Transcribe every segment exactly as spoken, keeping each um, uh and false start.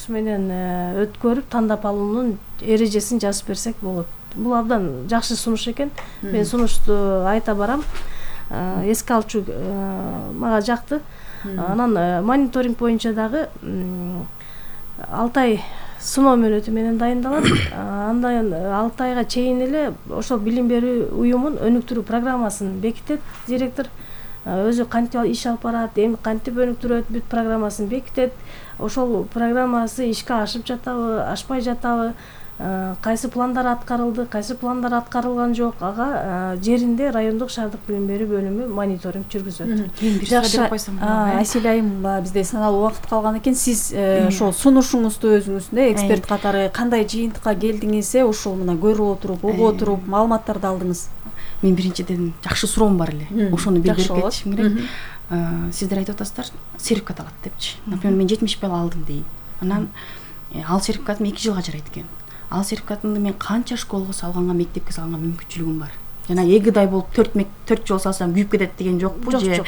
конкурс менен өткөрүп тандап алуунун эрежесин жазып берсек болот. Бул абдан жакшы сунуш экен. Мен сунушту айта барам. Эске алчу мага жакты. Анан мониторинг боюнча дагы алты ай сыноо мөөнөтү менен дайындалат. Андан алты айга чейин эле ошол билим берүү уюмун өнүктүрүү программасын бекитет директор. Өзү кантип иш алып барат, эми кантип өнүктүрөт, бүт программасын бекитет. Ошол программасы ишке ашып жатабы, ашпай жатабы, кайсы пландар аткарылды, кайсы пландар аткарылган жок, ага жеринде райондук шаардык билим берүү бөлүмү мониторинг жүргүзөт. Жакшы. Асель айым, бизде саналуу убакыт калган экен. Сиз ошол сунушуңузду өзүңүздү эксперт катары кандай жыйынтыкка келдиңиз, ушул мына көрүп отуруп, угуп отуруп маалыматтарды алдыңыз? Мен биринчиден жакшы суроом бар эле. Ошону билдирип кетишим керек. Сиздер айтып атасыздар, сертификат алат депчи. Например, мен жетимиш балл алдым дейт. Анан ал сертификатым эки жылга жарайт экен. Ал сертификатымды мен канча школго салганга, мектепке салганга мүмкүнчүлүгүм бар. Жана эгидай болуп төрт төрт жол салсам күйүп кетет деген жокпу же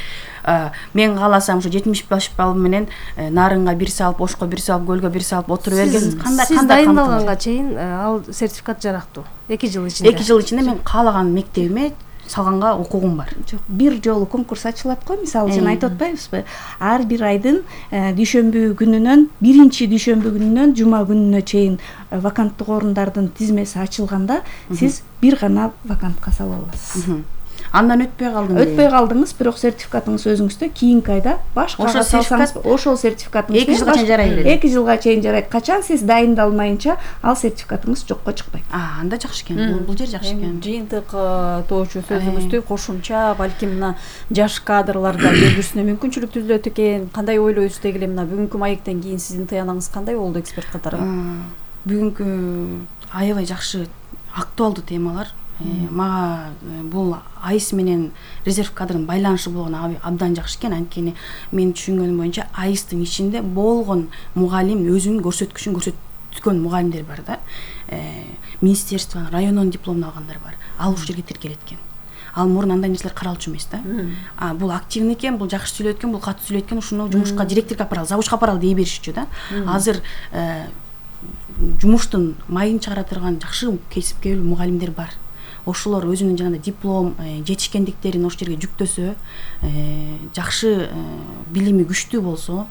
мен кааласам ушу жетимиш беш балл менен нарынга бир салып, ошко бир салып, көлгө бир салып отура берген кандай кандай дайындалганга чейин ал сертификат жарактуу. эки жыл ичинде. эки жыл ичинде мен каалаган мектебиме салганга укугум бар. Жок, бир жолу конкурс ачылат го, мисалы жана айтып атпайбызбы? Ар бир айдын дүйшөмбү күнүнөн, биринчи дүйшөмбү күнүнөн жума күнүнө чейин ваканттык орундардын тизмеси ачылганда, сиз бир гана вакантка сала аласыз. Андан өтпөй калдым. Өтпөй калдыңыз, бирок сертификатыңыз өзүңүздө кийинки айда башкага салсаңыз, ошол сертификатыңыз эки жылга чейин жарайт. эки жылга чейин жарайт. Качан сиз дайындалмайынча ал сертификатыңыз жокко чыкпайт. А, анда жакшы экен. Бул жер жакшы экен. Жыйынтык тоочу сөзүңүздү кошумча балким мына жаш кадрларда келүүсүнө мүмкүнчүлүк түзүлөт экен. Кандай ойлойсуз деги эле мына бүгүнкү маектен кийин сиздин тыянагыңыз кандай болду эксперт катары? Бүгүнкү аябай жакшы актуалдуу темалар. Мага бул АИС менен резерв кадрдын байланышы болгон абдан жакшы экен. Анткени мен түшүнгөнүм боюнча АИСтин ичинде болгон мугалим өзүнүн көрсөткүчүн көрсөткөн мугалимдер бар да. Министерство, райондон дипломун алгандар бар. Ал ушул жерге тиркелет экен. Ал мурун андай нерселер каралчу эмес да. А бул активный экен, бул жакшы сүйлөйт экен, бул катуу сүйлөйт экен, ушуну жумушка директорго апаралы, завучка апаралы дей беришчү да. Азыр жумуштун майын чыгара турган жакшы кесипкер мугалимдер бар. Ошолор өзүнүн жанагындай диплом, жетишкендиктерин ошол жерге жүктөсө, жакшы билими күчтүү болсо,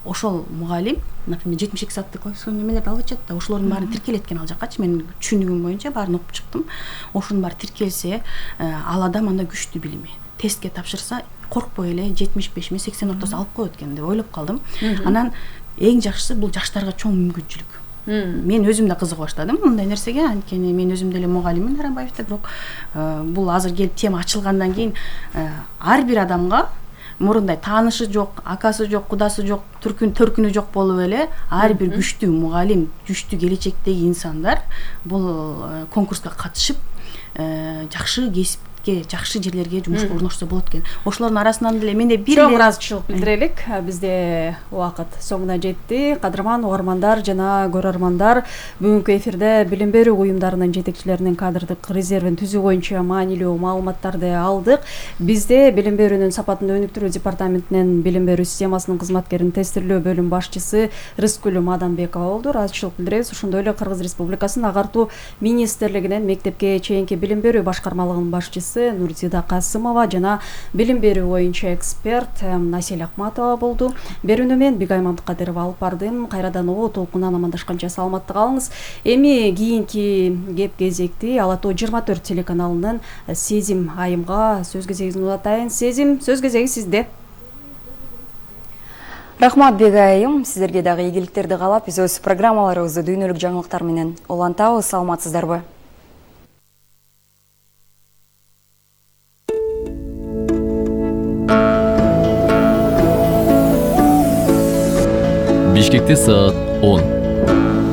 ошол мугалим, например, жетимиш эки сааттык классикалык немелерди алып атат да, ошолордун баарын тиркелет экен ал жаккачы. Мен түшүнүгүм боюнча баарын окуп чыктым. Ошонун баары тиркелсе, ал адам анда күчтүү билими. Тестке тапшырса, коркпой эле жетимиш бешми сексен ортосу алып коет экен деп ойлоп калдым. Анан эң жакшысы бул жаштарга чоң мүмкүнчүлүк. Мен өзүм да кызыга баштадым мындай нерсеге, анткени мен өзүм деле мугалиммин Арамбаевде, бирок бул азыр келип тема ачылгандан кийин ар бир адамга мурундай таанышы жок, акасы жок, кудасы жок, түркүн төркүнү жок болуп эле ар бир күчтүү мугалим, күчтүү келечектеги инсандар бул конкурска катышып жакшы кесип жакшы жерлерге жумушка орношсо болот экен. Ошолордун арасынан деле менде бир чоң ыраазычылык билдирелик. Бизде убакыт соңуна жетти. Кадырман угармандар жана көрөрмандар, бүгүнкү эфирде билим берүү уюмдарынын жетекчилеринин кадрдык резервин түзүү боюнча маанилүү маалыматтарды алдык. Бизде билим берүүнүн сапатын өнүктүрүү департаментинин билим берүү системасынын кызматкерин тестирлөө бөлүм башчысы Рыскүл Мадамбекова болду. Ыраазычылык билдиребиз. Ошондой эле Кыргыз Республикасынын Агартуу министрлигинин мектепке чейинки билим берүү башкармалыгынын башчысы Нурзида Касымова жана билим берүү боюнча эксперт Асель Акматова болду. Берүүнү мен Бигай Мамдыкадырова алып бардым. Кайрадан о толкунан амандашканча саламатты калыңыз. Эми кийинки кеп кезекти Ала Тоо жыйырма төрт телеканалынын Сезим айымга сөз кезегин улатайын. Сезим, сөз кезеги сизде. Рахмат Бигай айым, сиздерге дагы ийгиликтерди каалап, биз өз программаларыбызды дүйнөлүк жаңылыктар менен улантабыз. Саламатсыздарбы? Бишкекте саат он.